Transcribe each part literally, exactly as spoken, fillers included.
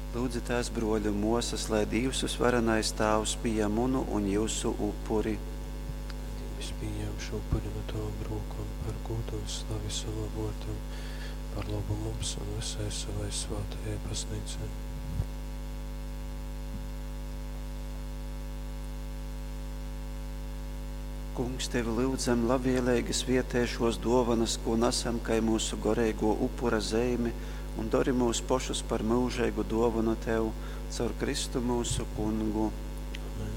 Lūdzitās, bruoļi un muosys, lai Dīvs vysvarenais Tāvs pījam munu un jiusu upuri. Dīvs pījam šo upuri nu tovom rūkom par gūdu un slavi savam vuordam, par lobu mums un vysai savai svātajai Baznīcai. Kungs, tevi lyudzam, labvieleigi svietej šuos duovanys, kū nasam kai myusu goreiguo upura zeimi, un dori myus pošus par myužeigu duovonu tev caur Kristu myusu Kungu. Amen.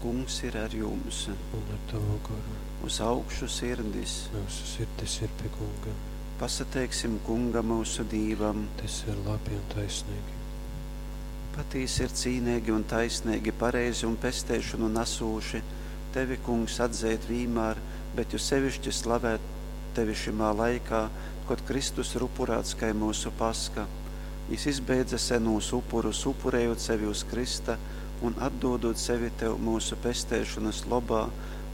Kungs ir ar jums. Un ar tavu goru. Uz augšu sirdis. Myusu sirdis ir pie Kunga. Pasateiksim Kungam myusu Dīvam. Tas ir labi un taisnīgi. Patīsi ir cīneigi un taisneigi, pareizi un pesteišonu nasūši, tevi, Kungs, atzeit vīmār, bet jo seviški slavēt tevi šymā laikā, kod Kristus ir upurāts kai myusu Paska. Jis izbeidze senūs upurus, upurējot sevi uz krysta un atdūdūt sevi tev myusu pesteišonys lobā,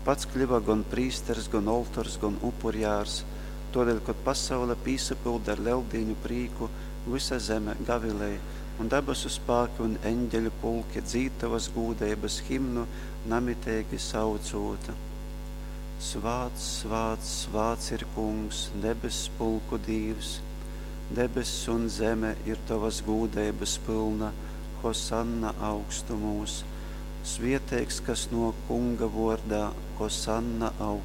pats kļuva gon prīsters, gon oltors, gon upurjārs. Tuodeļ, kod pasaule pīsapylda ar Leldīņu prīku, vysa zeme gavilej, un dabasu spāki un eņģeļu pulki dzīd tovas gūdeibys himnu, namiteigi saucūt: Svāts, svāts, svāts ir Kungs, debess pulku Dīvs! Debess un zeme ir tovas gūdeibys pylna, Hosanna augstumūs! Svieteigs, kas nuok Kunga vuordā, Hosanna augstumūs!